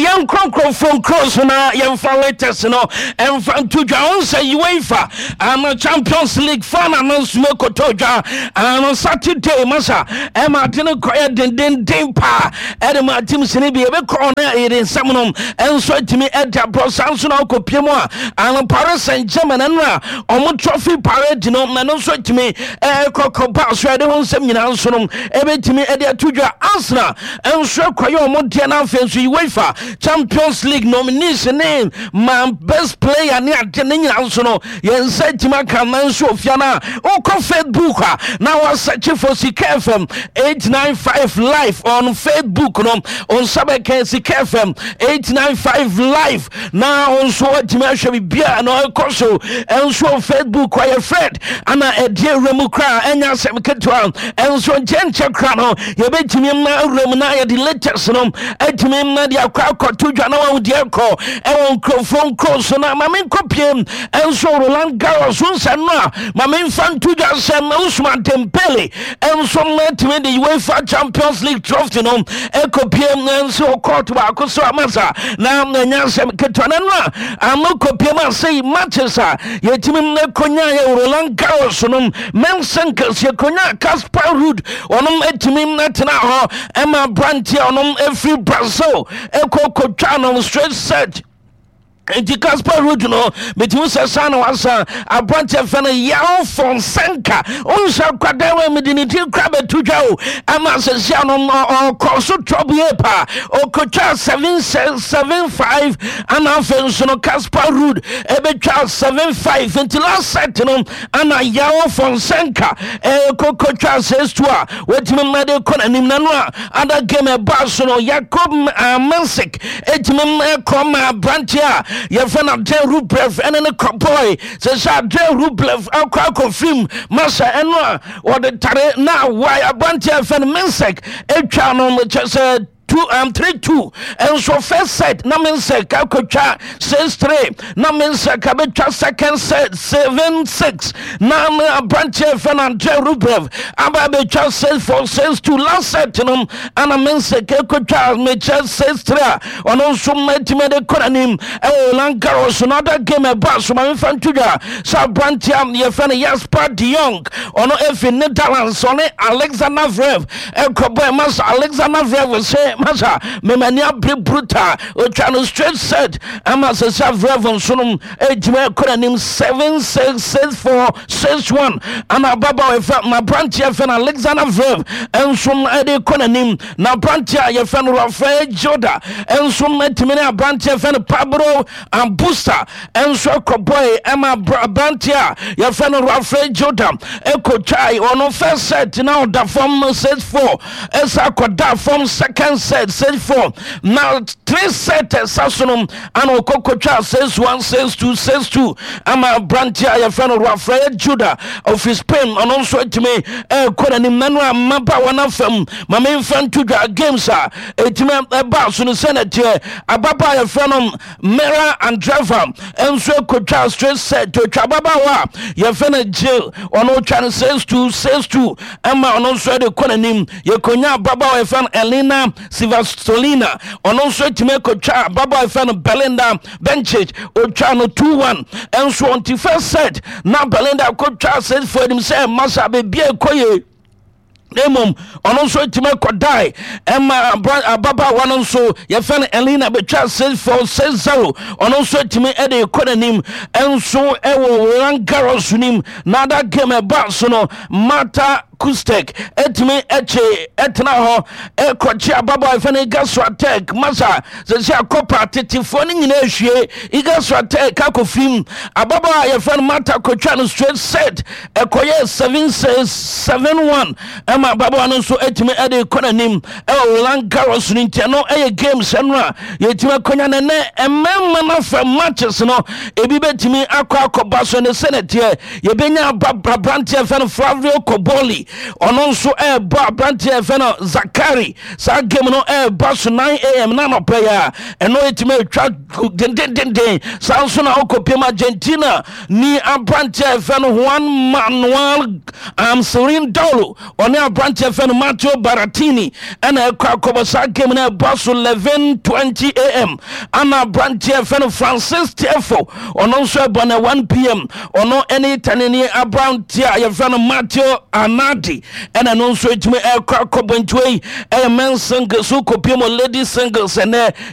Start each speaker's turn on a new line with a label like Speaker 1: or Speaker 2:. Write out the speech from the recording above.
Speaker 1: Yɛnkɔ nkurɔfoɔ nkuro so na yɛmfa latest no ɛmfa nto dwa. Wo sɛ UEFA ano Champions League final no nso ɛkɔtɔ dwa ano Saturday masa ɛma ade no kɔyɛ dendenden paa ɛde ma team sini bi ɛbɛkɔ no ɛyere nsɛm no ɛnso atumi ɛde aborɔ. Saa nso na wokɔpie mu a ano Paris Saint-Germain ɛno a ɔmo trophy parade no ɛno nso atumi ɛkɔkɔ ba so ɛde ho nsɛm nyinaa nso no ɛbɛtumi ɛde ato dwa. Arsenal nso ɛkɔyɛ ɔmo deɛ no. Afei nso UEFA Champions League nominees ne ma best player ne ade ne nyinaa nso no yɛn nsa atumi aka. Na nso ofia no a wokɔ Facebook a na wasearch for Sika FM 895 Live on Facebook no, nsa bɛka Sika FM 895 Live na wo nso watumi ahwɛ biribiaa na ɛkɔ so ɛnso wɔ Facebook. Ɔyɛ Fred ana ɛdeɛ awura mu koraa ɛnyɛ asɛm ketewa. Ɛnso nkyɛnkyɛ kora no yɛbɛtumi ma awura mu na yɛde latest no atumi ma de akɔ akɔto dwa na wawo deɛ kɔ ɛwɔ nkurɔfoɔ nkuro so. Na ma menkɔpie ɛnso Roland Garros nsa no a ma memfa nto dwa sɛ Ousmane Dembele ɛnso matumi de UEFA Champions League trophy no ɛkɔpie nso court baako so amasa na ɛnyɛ asɛm ketewa. No no a ano kɔpie mu asɛi matches a yɛtumi ɛkɔnya yɛ Roland Garros no, men's singles yɛkɔnya Casper Ruud, ɔnom atumi atena hɔ ɛma aberanteɛ ɔnom ɛfiri Brazil ɛkɔ kɔtwa no straight set. Nti Casper Ruud no metumi sɛ saa na wasa aberanteɛ fɛ no Yaw Fonseca wonhyɛ kwadan wɔ mede ne din kora bɛto dwa o ama sɛsia no ɔkɔ so trɔboye paa, ɔkɔtwa 7 7 5 ana afei nso no Casper Ruud ɛbɛtwa 7 5. Nti last set no ana Yaw Fonseca ɛkɔkɔtwa 6 2 a watumi mmɛde kɔ n'anim. Na no a other game ɛbaa so no, Jakob Mensik ɛtumi ɛkɔ ma aberanteɛ a yɛfrɛ no Andrei Rublev ɛne ne kɔbɔe sɛ Andrei Rublev akɔ akɔfirim masa ɛno a wɔde tare na awae aberanteɛ a yɛfrɛ no Mensik atwa no kyɛ sɛ 2 3 2. Nso first set na Mensik akɔtwa 6 3, na Mensik abɛtwa second set 7 6, na aberanteɛ fɛ no Andrei Rublev aba abɛtwa 6 4, 6 2. Last set no ana Mensik akɔtwa mekyɛ 6 3 a ɔno nso matumi de kɔ n'anim ɛwɔ Roland Garros no. Other game ɛba so, ma memfa nto dwa sɛ aberanteɛ a yɛfrɛ no Jasper de Jong, ɔno ɛfi Netherlands, ɔne Alexander Zverev ɛkɔbɔ. Masa Alexander Zverev sɛ masa memani abere brutal, ɔtwa no straight set ama sɛ Zverev nso no ɛgyina ɛkɔ n'anim 7 6, 6 4, 6 1 ana ababaawa ɛfɛ ma aberanteɛ fɛ no Alexander Zverev nso ɛde kɔ n'anim. Na aberanteɛ a yɛfɛ no Rafael Joda nso atumi ne aberanteɛ fɛ no Pablo Ambusta nso ɛkɔbɔe ɛma aberanteɛ a yɛfɛ no Rafael Joda ɛkɔtwae ɔno first set na ɔda fam 6 4, ɛsa akɔda fam second set 6 4, na three set ɛsa so no ana ɔkɔkɔtwa 6 1, 6 2, 6 2 ama aberanteɛ a yɛfrɛ no Rafael Juda ofi Spain, ɔno nso atumi ɛrekɔ n'anim. Na no a mmabaawa no afam ma memfa nto dwa games a ɛtumi ɛbaa so no sɛ na teɛ ababaa a yɛfrɛ no Mera Andreva nso akɔtwa straight set, ɔtwa ababaawa a yɛfrɛ no Jill, ɔno ɔtwa no 6 2, 6 2 ɛma ɔno nso ɛde kɔ n'anim. Yɛkɔnya ababaawa a yɛfrɛ no Elina Svitolina, ɔno nso atumi akɔtwa ababaawa a yɛfrɛ no Belinda Bencic, ɔtwa no 2 1 ɛnso. Ɔnti first set na Belinda akɔtwa 6 4 anim sɛ masa baabi a ɛkɔ yie, na mmom ɔno nso atumi akɔdae ɛma ababaawa no nso yɛfɛ no Elena bɛtwa 6 4, 6 0, ɔno nso atumi ɛde kɔ n'anim ɛnso ɛwɔ Roland Garros nim. Na other game ɛba so no, Marta Kustek ɛtumi ɛkye ɛtena hɔ ɛkɔkye ababaawa yɛfɛ no Iga Swiatek. Masa sɛsɛ akɔpa tetefoɔ no nyinaa ahwie Iga Swiatek akɔfirim. Ababaawa yɛfɛ no Marta kɔtwa no straight set, ɛkɔyɛ 7 6, 7 1 ɛma ababaawa no nso atumi ɛde kɔ n'anim ɛwɔ Roland Garros no. Nti ɛno ɛyɛ games ɛno a yɛtumi akɔnya. Nɛnɛ mmarima no afa matches no ebi bɛtumi akɔ akɔba so ne sɛ nɛteɛ yɛbɛnya aberanteɛ fɛ no Flavio Cobolli. Ɔno nso ɛrebɔ aberanteɛ ɛfɛ no Zakari. Saa game no ɛreba so 9 a.m. na anɔpɛ yi a ɛno ɛtumi atwa dendendenden. Saa nso na ɔkɔpiem Argentina ni aberanteɛ ɛfɛ no Juan Manuel Cerundolo, ɔne aberanteɛ fɛ no Matteo Berrettini ɛna ɛkɔ akɔbɔ. Saa game no ɛba so 11:20 a.m. Ana aberanteɛ fɛ no Francis Tiafoe, ɔno nso ɛbɔ no 1 p.m., ɔno ɛne Itanini aberanteɛ a yɛfrɛ no Matteo Arnaldi ɛna ɛno nso ɛtumi ɛkɔ akɔbɔ. Ntiwei ɛyɛ men singles. So kɔpie mu ladies singles ɛnɛ.